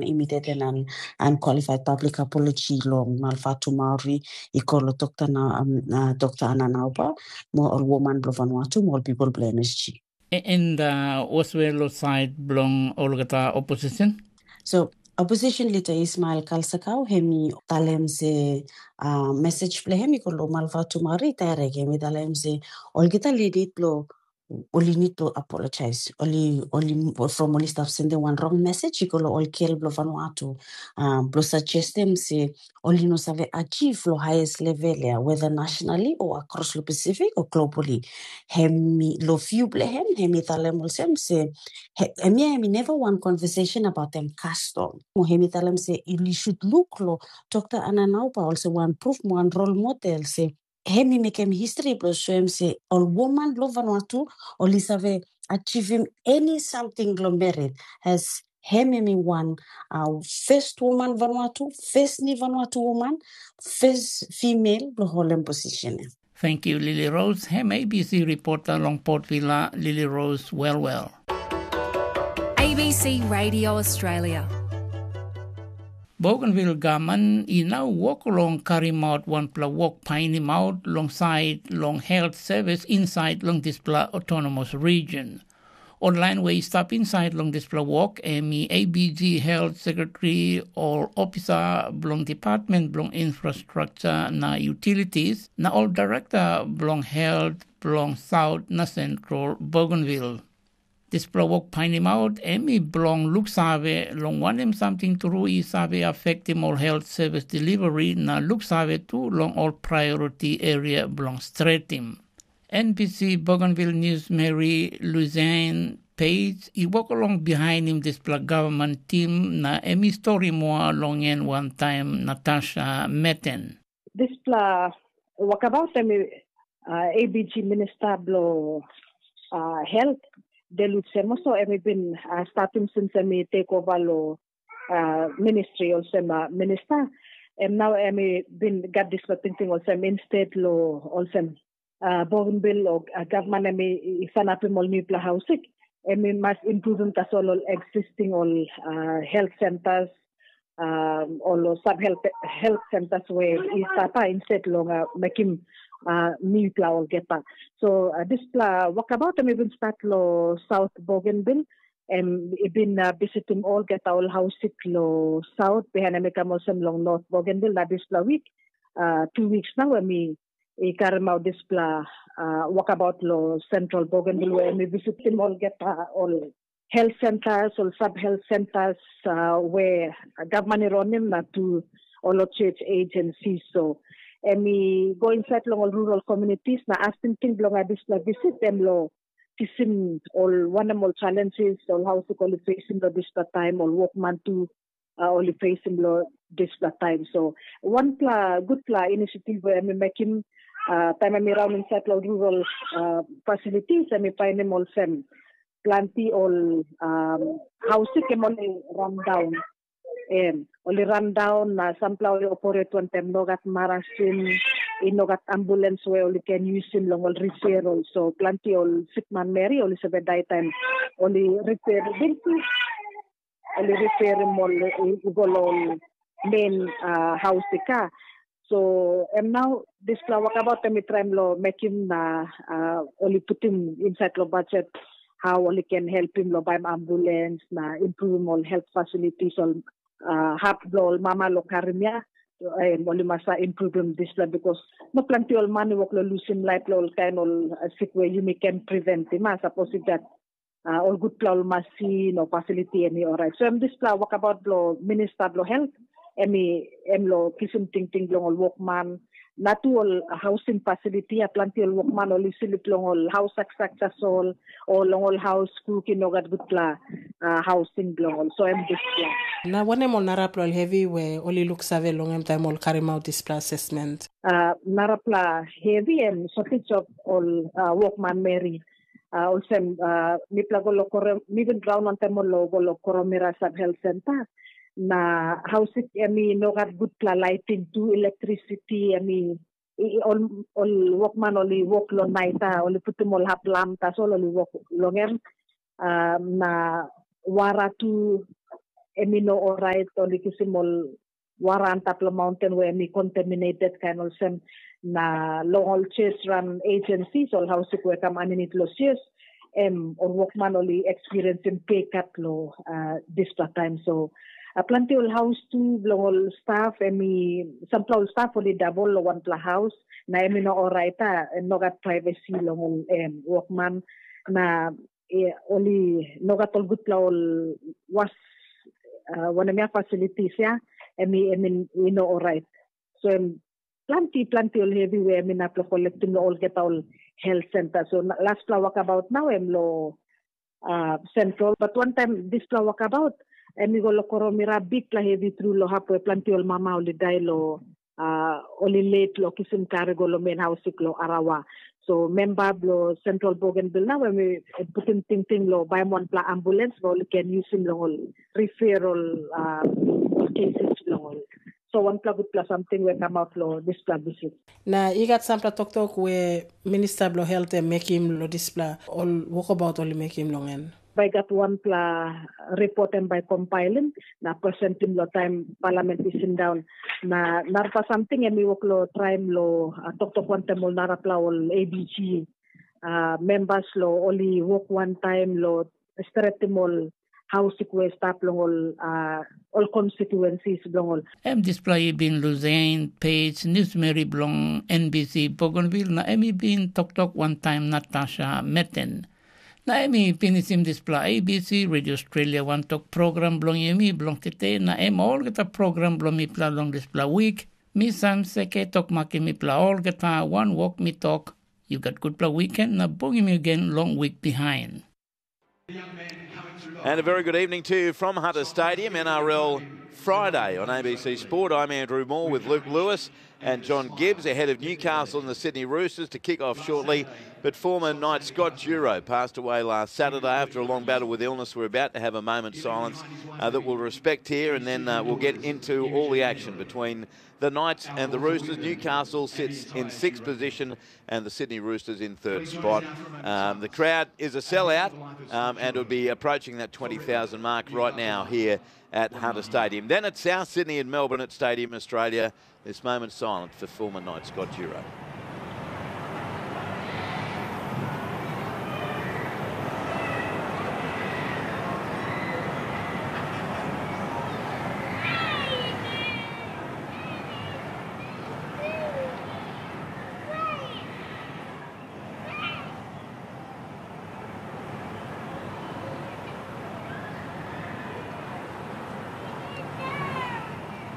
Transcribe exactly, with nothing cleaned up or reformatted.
Imitated an unqualified public apology long Malvatu Maori i go long Dokta na um, uh, Dokta Ananauba, mo ol woman bilong Vanuatu, mo ol people bilong M S G. And uh, was well side belong olgeta opposition? So opposition leader Ismail Kalsakau, hemi talem se uh, message bilong hemi go long Malvatu Maori direct, hemi talem se olgeta leader bilong oli need to apologize. Oli oli from oli stop sending one wrong message i go lo ol kel blo Vanuatu. Um, blo suggestem se oli no save achieve lo highest level ya, whether nationally or across lo Pacific or globally. Hemi lo view ble hem, hemi talem olsem se he- hemi hemi never one conversation about them custom. Mo hemi talem se you should look lo Dr. Ananauba also one proof one role model se hem i mekim history bilong soim se ol woman bilong Vanuatu ol i save achievim any something long merit as hem em i wan uh, first woman Vanuatu, first ni Vanuatu woman, first female bilong holem position. Thank you, Lily Rose. Hem A B C reporter long Port Vila, Lily Rose, well well. A B C Radio Australia. Bougainville gaman i nau wok long karim out wanpela wok painim out long sait long health service insait long dispela autonomous region. Ol lain we i stap insait long dispela wok em i A B G Health Secretary, ol ofisa bilong Department bilong Infrastructure na Utilities, na ol direkta bilong health bilong South na Central Bougainville. Dispela wok painimaut em i bilong luksave long wanem samting tru i save afektim ol health service delivery na luksave tu long ol priority area bilong stretim. N B C Bougainville News Mary Luzain Page i wok along bihainim dispela gavman tim na em i stori moa long en wantaim Natasha Meten. Dispela wakabaut em uh, A B G Minister bilong uh, Health, Delu Semoso, em i bin uh, startim since em i take over lo uh, ministry olsem uh, minister. Em nau em i bin gat dispela tingting olsem instead lo olsem uh, Bougainville o uh, gavman em i sanapim ol newpela hausik, em i mas improvim tasol ol existing ol uh, health centers, um, ol sub health, health centers we i stapa instead long uh, mekim uh, newpela olgeta. So uh, dispela wakabaut em i bin start lo South Bougainville, em i bin uh, visitim olgeta ol hausik lo South, behind em i kam olsem long North Bougainville na dispela week, uh, two weeks now em i i karim out dispela uh, wakabaut lo Central Bougainville we em i visitim olgeta ol health centers, ol sub health centers uh, we gavman i ronim na tu ol church agency. So em i go inside long ol rural communities na as tingting bilong dispela visit em lo kisim ol wanem ol challenges ol hausik ol i facing lo dispela taim, ol wokman tu uh, ol i facing lo dispela taim. So wanpela gutpela initiative we em i mekim uh, taim em i raun inside lo rural uh, facilities, em i painim olsem planti ol um, hausik em ol i rundown. Em, ol i rundown na sampela ol i operate wantaim nogat marasin, i nogat ambulance we ol i ken yusim long ol referral. So planti ol sikman meri ol i save dai taim ol i refer binti, ol i referim ol i go long ol main uh, haus i ka. So em nau dispela wakabaut em i traim long mekim na uh, ol i putim insait long budget how ol i ken helpim long baim ambulance na improvim ol health facilities ol uh, hap bilong ol mama long karim ya. Em ol i mas improvim dispela bikos no planti ol man i wok long lusim laip long ol kain ol uh, sik we yumi ken preventim a sapos i gat uh, ol gutpela ol masin o fasiliti em i orait. So em dispela wakabaut bilong minista bilong helt em i em lo kisim tingting bilong ol wokman na tu ol housing facility a planti ol wokman ol i slip long ol haus saksak tasol o long ol haus kuk i no gat gutpela uh, housing bilong ol. So em dispela. Na wanem ol narapela ol hevi we ol i luksave long em taim ol karim aut dispela asesment? Uh, narapela hevi em shortage of ol uh, wokman meri. Uh, olsem uh, mipela go lo Koro, mi bin raun wantaim ol lo go lo Koromira Sub Health Center. Na hausik em i no gat gutpela lighting tu, electricity em i ol ol wokman ol i wok long nait a ol i putim ol hap lam tasol ol i wok long em. Uh, na wara tu em i no orait, ol i kisim ol wara antap long maunten we em i contaminated kain olsem. Na long ol church run agencies, ol haus sik we kam aninit long church, em ol wokman ol i experiencing pay cut long uh, dispela taim. So uh, planti ol haus tu bilong ol staff, em i sampela ol staff ol i dabol long wanpela haus, na em i no orait, a em no gat privacy long ol em wokman. Na e, ol i no gat ol gutpela ol was, uh, wanem ya facilities ya, em i em i, i no orait. So em planti planti ol hevi we em inap lo kolektim lo olgeta ol health center. So lastpela wakabaut nau em lo uh, central, but one time dispela wakabaut em i go lo Koromira, bikpela hevi tru lo hap we planti ol mama ol i dai lo uh, ol i let lo kisim kari go lo main house sik lo Arawa. So memba blo Central Bougainville nau em i putim tingting lo baim wanpela ambulance ba ol i ken yusim long ol referral uh, cases bilong ol. So wanpela gutpela samting we kamap lo dispela visit. Na i gat sampela toktok we minista bilong helt em mekim long dispela ol wokabaut ol i mekim long en. Bai gat wanpela ripot em bai kompailim na presentim long taim palament i sindaun. Na narapela samting em i wok long traim long uh, toktok wantaim ol narapela ol A B G uh, membas long ol i wok wantaim long stretim ol haus i stap long ol uh, ol konstituensis bilong ol. Em dispela i bin Luzain Page, newsmeri bilong N B C Bougainville, na em i bin toktok wantaim Natasha Meten. Na em i pinisim dispela A B C Radio Australia wantok program bilong yumi bilong tete, na em olgeta program bilong mipela long dispela wik. Mi Sam Seke tok makim mipela olgeta wanwok mi tok, yu gat gutpela wiken na bungim yu gen long wik bihain. And a very good evening to you from Hunter Stadium, N R L Friday on A B C Sport. I'm Andrew Moore with Luke Lewis and John Gibbs ahead of Newcastle and the Sydney Roosters to kick off shortly. But former Knight Scott Duro passed away last Saturday after a long battle with illness. We're about to have a moment's silence uh, that we'll respect here, and then uh, we'll get into all the action between the Knights and the Roosters. Newcastle sits in sixth position and the Sydney Roosters in third spot. Um, the crowd is a sellout um, and will be approaching that twenty thousand mark right now here at Hunter Stadium. Then at South Sydney in Melbourne at Stadium Australia, this moment silent for former Knight Scott Duro.